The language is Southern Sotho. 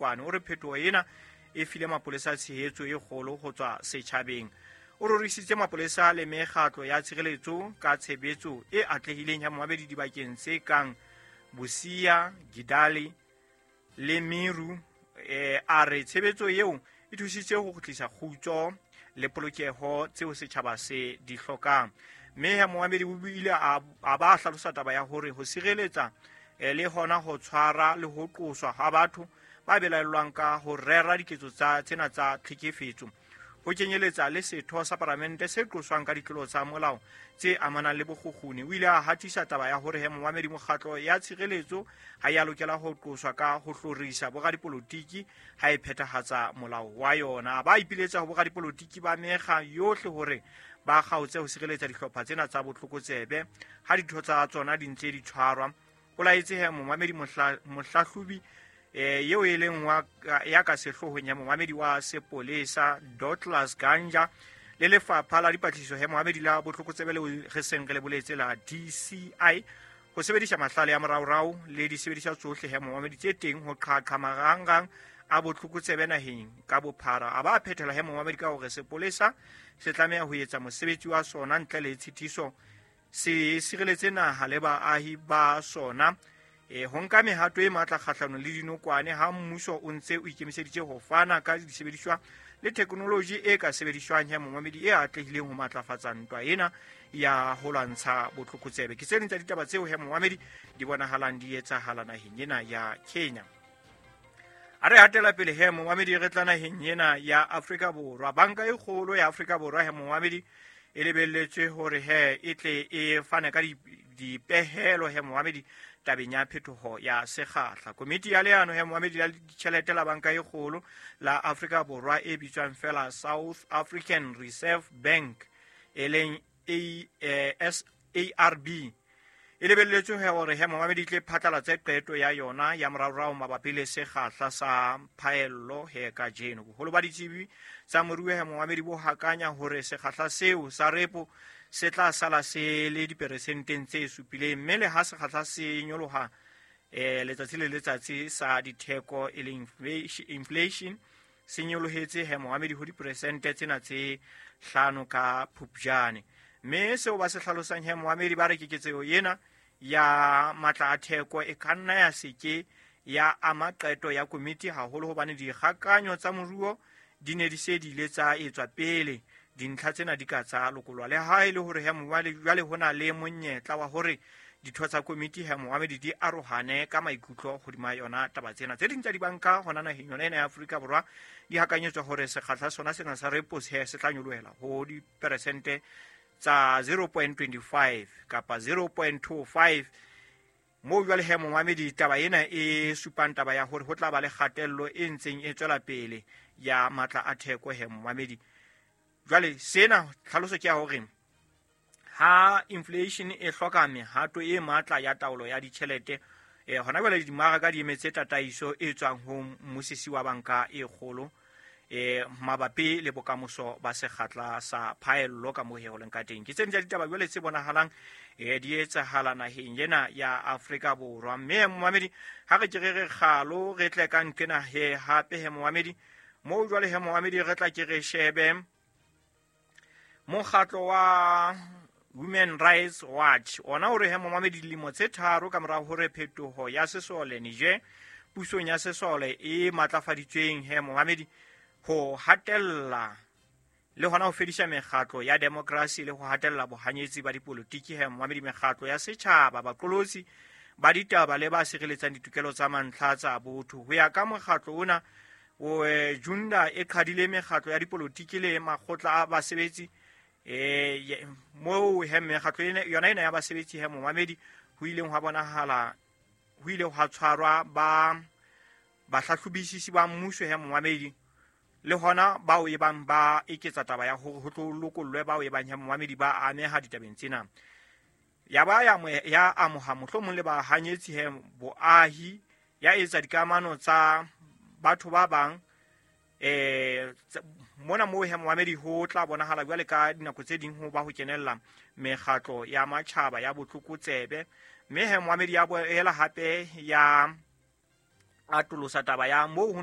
dinokwane. O re phetoho ena e file mapolesa tshehetso e kgolo ho tswa setjhabeng. O rorisitse mapolesa le mekgatlo ya tshireletso ka tshebetso e atlehileng ya momamedi dibakeng tse kang Busia, Gidali le Meru. A re tshebetso eo e thusitse ho kgutlisa kgutso le polokeho tseo setjhaba se di hlokang. Mme ya momamedi o ile a ba hlalosa taba ya hore ho sireletsa le hona ho tshwara le ho qoswa ha batho ba belaellwang ka ho rera diketso tsa tsena tsa tlhekefetso, ho kenyeletsa le setho sa palamente se qoswang ka ditlolo tsa molao tse amanang le bokgukguni. O ile a hatisa taba ya hore he momamedi mokgatlo ya tshireletso ha ya lokela ho qoswa ka ho hlorisa boradipolotiki ha e phethahatsa molao wa yona. Ba ipiletsa ho boradipolotiki ba mekga yohle hore ba kgaotse ho sireletsa dihlopha tsena tsa botlokotsebe ha ditho tsa tsona di ntse di tshwarwa. O laetse he momamedi mohlahlobi eo e leng wa ya ka sehloohong ya momamedi wa sepolesa Douglas Ganja le lefapha la dipatlisiso he momamedi la botlokotsebe leo re seng re le boletse la DCI ho sebedisa mahlale a moraorao le disebediswa tsohle he momamedi tse teng ho qhaqha marangrang a botlokotsebe naheng ka bophara. A ba phethela he momamedi ka hore sepolesa se tlameha ho etsa mosebetsi wa sona ntle le tshitiso, se sireletse naha le baahi ba sona, ho nka mehato e matla kgahlanong le dinokwane ha mmuso o ntse o ikemiseditse ho fana ka disebediswa le theknoloji e ka sebediswang ya momamedi e atlehileng ho matlafatsa ntwa ena ya ho lwantsha botlokotsebe. Ke tse ding tsa ditaba tseo he momamedi di bonahalang di etsahala naheng ena ya Kenya. A re hatela pele he momamedi re tla naheng ena ya Afrika Borwa. Banka e kgolo ya Afrika Borwa he momamedi e lebelletswe hore he e tle e fane ka dipehelo he momamedi tabeng ya phetoho ya sekgahla. Komiti ya leano he momamedi la ditjhelete la banka e kgolo la Afrika Borwa e bitswang fela South African Reserve Bank e leng SARB e lebelletswe hore he momamedi tle phatlalatse qeto ya yona ya moraorao mabapi le sekgahla sa phaello he kajeno. Boholo ba ditsebi tsa moruo he momamedi bo hakanya hore sekgahla seo sa repo se tla sala se le diperesenteng tse supileng, mme le ha sekgahla se nyoloha letsatsi le letsatsi sa ditheko e leng inflation se nyolohetse he momamedi ho diperesente tsena tse 5 ka Phupjane. Mme seo ba se hlalosang he momamedi ba re keketseho ena ya matla a theko e ka nna ya seke ya ama qeto ya komiti haholo hobane dikgakanyo tsa moruo di ne di se di ile tsa etswa pele dintlha tsena di ka tsa lokolwa. Le ha e le hore he momamedi jwale ho na le monyetla wa hore ditho tsa komiti he momamedi di arohane ka maikutlo hodima yona taba tsena. Tse ding tsa dibanka hona naheng yona ena ya Afrika Borwa di hakanyetswa hore sekgahla sona sena sa repo se tla nyolohela ho diperesente tsa 0.25 kapa 0.25. Moo jwale he momamedi taba ena e supang taba ya hore ho tla ba le kgatello e ntseng e tswela pele ya matla a theko he momamedi. Jwale sena tlhaloso ke ya hore ha inflation e hloka mehato e matla ya taolo ya ditjhelete, hona jwale dimaraka di emetse tataiso e tswang ho mmusisi wa banka e kgolo mabapi le bokamoso ba sekgahla sa phaello ka moo he ho leng ka teng. Ke tse ding tsa ditaba jwale tse bonahalang di etsahala naheng ena ya Afrika Borwa. Mme momamedi ha re ke re re kgalo re tle ka nqena he hape he momamedi moo jwale he momamedi re tla ke re shebe mokgatlo wa Human Rights Watch ona o re he momamedi dilemo tse 3 ka mora hore phetoho ya sesole Niger pusong ya sesole e matlafaditsweng he momamedi ho hatella le hona ho fedisa mekgatlo ya demokrasi le ho hatella bohanyetsi ba dipolotiki he momamedi mekgatlo ya setjhaba baqolotsi ba ditaba le ba sireletsang ditokelo tsa mantlha tsa botho. Ho ya ka mokgatlo ona o Junda e qhadile mekgatlo ya dipolotiki le makgotla a basebetsi moo he mekgatlo yona ena ya basebetsi he momamedi ho ileng hwa bonahala ho ile hwa tshwarwa ba bahlahlobisisi ba mmuso he momamedi le hona bao e bang ba eketsa taba ya hore ho tlo lokollwe bao e bang he momamedi ba ameha ditabeng tsena. Ya ba ya amoha mohlomong le bahanyetsi he boahi ya etsa dikamano tsa batho ba bang mona moo he momamedi ho tla bonahala jwale ka dinako tse ding ho ba ho kenella mekgatlo ya matjhaba ya botlokotsebe. Mme he momamedi ya boela hape ya atolosa taba ya moo ho